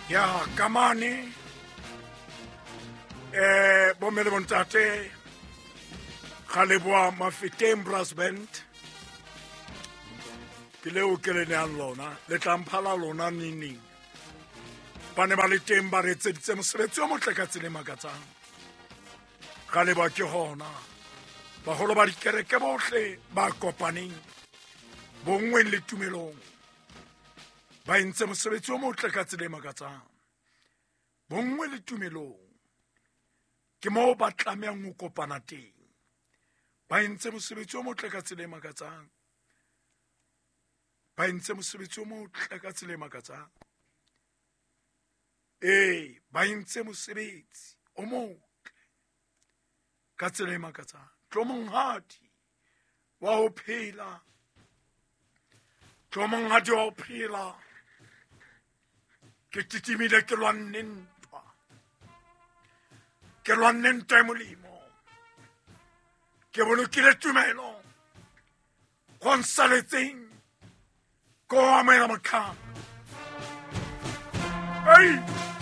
Ya kamane bomme le bontate ga leboa Mafeteng Brass Band, ke leo ke le neang lona, le tlamphala lona neng ba ne ba le teng, ba re etseditse mosebetsi o motle ka tsela e makatsang. Ga leboa ke gona baholo ba dikereke bohle ba kopaneng bonngweng le tumelong, ba entse mosebetsi o motle ka tsela e makatsang. Bonngwe le tumelong ke moo ba tlamehang ho kopana teng, ba entse mosebetsi o motle ka tsela e makatsang, ba entse mosebetsi o motle ka tsela e makatsang. Ee, ba entse mosebetsi o motle ka tsela e makatsang. Tlo monghadi wa ho phela, tlo monghadi wa ho phela, ke titimile, ke lwanne ntwa, ke lwanne ntwa e molemo, ke bolokile tumelo, go nsaletseng ko amohela motlhang. Ei!